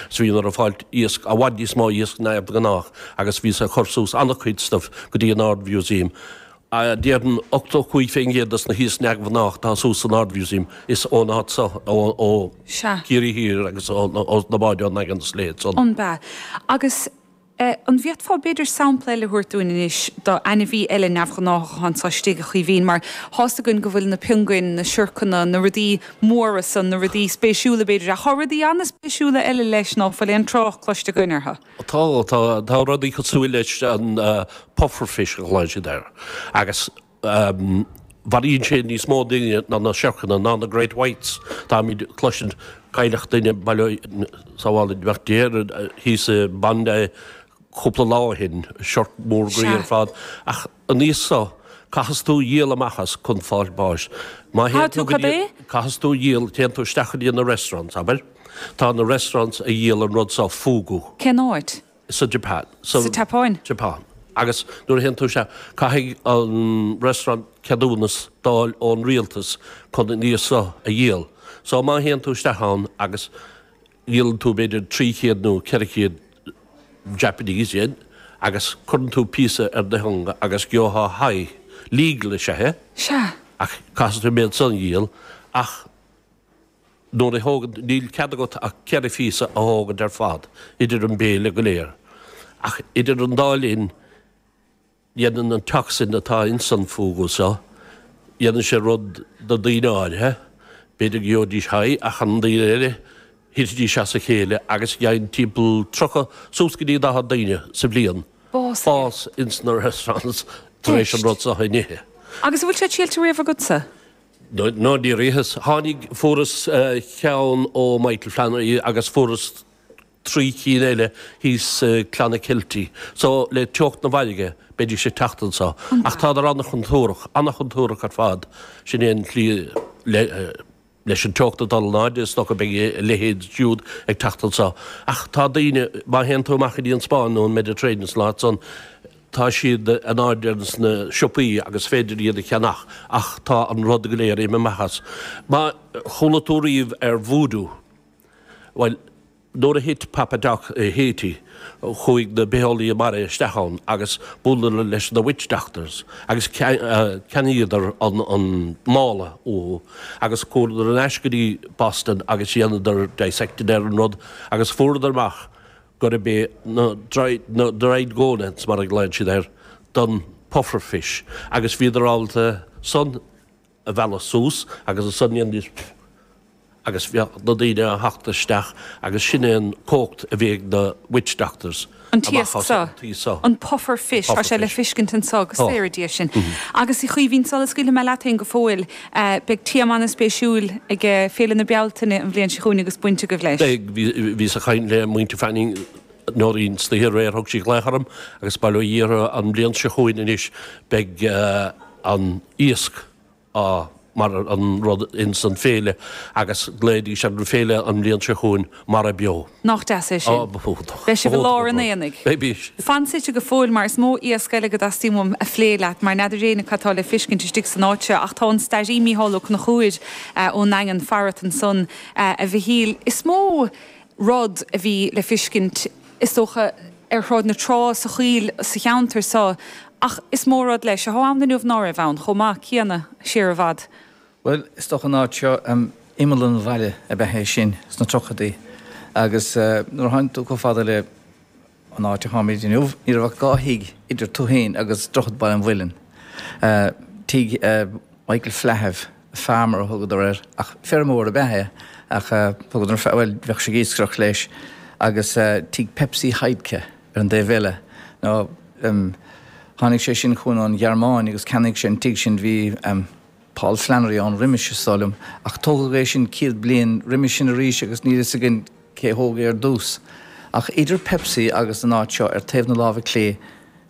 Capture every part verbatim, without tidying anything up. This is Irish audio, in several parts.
So bhíodar ag fáilt iasc, i bhfad níos mó iasc ná de ghnáth agus bhí siad ag cur suas an-chuid stuff go dtí an Ard-Mhúsaem. Déarfainn ochtó cúig faoin gcéad dos na hiasc neamhghnách atá suas san Ard-Mhúsaem is ón áit seo, ó Ciarraí Thiar agus ó na báid ón nDaingean is a leithéid san. An b'ea? Agus an bhféadfá b'fhéidir sampla eile a thabhairt dúinn anois d'ainmhí eile neamhghnáthach atá anso istigh, a Chaoimhín, mar tá's againn go bhfuil na piongain, na siorcanna, na rudaí móra san, na rudaí spéisiúla b'fhéidir, ach tá rudaí an-spéisiúla eile leis ná fuil aon trácht cloiste againn orthu. Tá, tá, tá rudaí cosúil leis an pufferfish a ghlaonn siad air agus mharaíonn sé níos mó daoine ná na siorcanna, ná na great whites. Táimid ag cloisint cailleadh duine, bail ó sábháil Dé air, thíos i Bondi cúpla lá ó shin, siorc mór groí ar fad. Ach an iasc seo, caithfeas tú dhíol amach as chun fáil báis. Má théann tú go dtí, caithfeas tú dhíol, téann tú isteach go dtí na restaurants, abair. Tá na restaurants a dhíol an rud seo, fugu. Cén áit? Sa Japan. Sa tSeapáin? Japan. Agus nuair a théann tú isteach, caithfidh an restaurant ceadúnas d'fháil ón rialtas chun an iasc seo a dhíol. So má théann tú isteach ann agus dhíolann tú b'fhéidir trí chéad nó ceithre chéad Japanese yen agus cuireann tú píosa ar do theanga agus gheofá high, legal is ea é. Sea. Ach caithfidh tú an méid san a dhíol ach nuair a thógann, níl cead agat ach ceithre phíosa a thógaint ar fad idir an béile go léir. Ach idir an dá linn, dhéanann an toxin atá ins an fugu seo, dhéanann sé rud do daoine áirithe, b'fhéidir go gheobhaidís high ach an daoine eile, thitfidís as a chéile agus gheibheann timpeall tríocha suas go dtí daichead daoine sa bhliain bás ins na restaurants tar éis an rud seo a n-ithe. Agus an bhfuil sé triailte riamh agatsa? No, níor itheas. Tháinig, fuaireas ceann ó Michael Flannery agus fuaireas trí cinn eile thíos i Clonakilty. So, le teocht na bhfarraige, beidís ag teacht anso. Ach tádar an-chontúrach, an-chontúrach ar fad. Sin é an tslí le, leis an teocht ag dul in airde, is dócha beidh a leithéid siúd ag teacht anso. Ach tá daoine, má théann tú amach go dtí an Spáinn nó an Mediterranean san áit san, Tá siad in airde ins na siopaí agus is féidir iad a cheannach ach tá an rud go léir imithe amach as. Má chuala tú riamh ar voodoo, bhuel, nuair a thit Papa Doc i Haiti, chuaigh na bitheolaithe mara isteach ann agus buaileadar leis na witch doctors agus cheannaíodar an mála uathu agus chuadar ar ais go dtí Boston agus dhéanadar dissecting ar an rud agus fuaireadar amach gurb é na na dried gonads mar a ghlaonn siad air don puffer fish agus bhíodar ábalta san a mhealladh suas agus ansan dhéanaidís pff agus bheadh na daoine a theacht isteach agus sin é an cumhacht a bhí ag na witch doctors An t-iasc seo, an puffer fish, tá sé le feiscint anso, go saora Dia sinn. Agus a Chaoimhín, sula scaoilfidh mé leat féin go fóill, beidh téama an-spéisiúil ag Féile na Bealtaine an bhliain seo chugainn agus baint agaibh leis. Beidh, bhíos ag caint le muintir Fanning, Nóirín istoíche aréir, thug sí glaoch orm agus bail ó Dhia orthu an bhliain seo chugainn anois beidh an iasc á mar an rud ins an féile agus glaofaidís ar an féile an bhliain seo chugainn Mara Beo. Nach deas é sin? Á, ba iontach. Beidh sibh i lár an aonaigh. Beidh. Fan suite go fóill mar is mó iasc eile go dteastaíonn uaim a phlé leat mar n'fheadar éinne cad tá le feiscint istigh san áit seo ach tá an stairí Mícheál Ó Conchúir ón nDaingean farat ansan a Mhichíl. Is mó rud a bhí le feiscint is dócha ar Shráid na Trá, sa choill, sa cheantar so ach is mó rud leis athá ann inniu ná raibh ann chomh maith céanna siar i bhfad. Bhuel, is dócha an áit seo, imeall an bhaile ab ea é sin sna tríochaidí agus nuair a tháinig tú chomh fada le an áit a tháimid inniu, ní raibh ach dhá thigh idir tú féin agus Droichead Baile an Mhuilinn. Tigh Michael Flahive, farmer a thugadar air, ach feirmeoir ab ea é, ach thugadar, bhuel, bheadh sé ag iascaireacht leis, agus tigh Pepsi Heidke ar an dtaobh eile. Nó tháinig sé sin chugainn ón Ghearmáin agus cheannaigh sé an tigh sin, bhí Paul Flannery ann roimis, is dóigh liom, ach tógadh é sin céad bliain roimis sin arís agus níl fhios againn cé thóg é ar dtús. Ach idir Pepsi agus an áit seo ar taobh na láimhe clé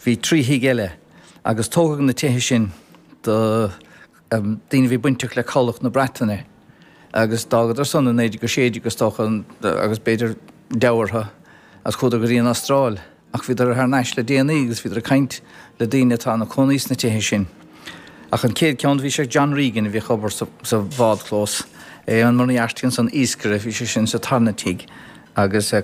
bhí trí thigh eile agus tógadh na tithe sin do daoine a bhí bainteach le Cabhlach na Breataine agus d'fhágadar san i naoi déag a sé déag is dócha agus b'fhéidir deabhadh orthu agus chuadar go dtí an Astráil ach bhíodar thar n-ais le déanaí agus bhíodar ag caint le daoine atá ina cónaí sna tithe sin. Ach an chéad ceann bhí sé ag John Regan a bhíodh ag obair sa bhádchlós, Éamonn Moriarty ansan iascaire bhí sé sin sa tarna tigh. Agus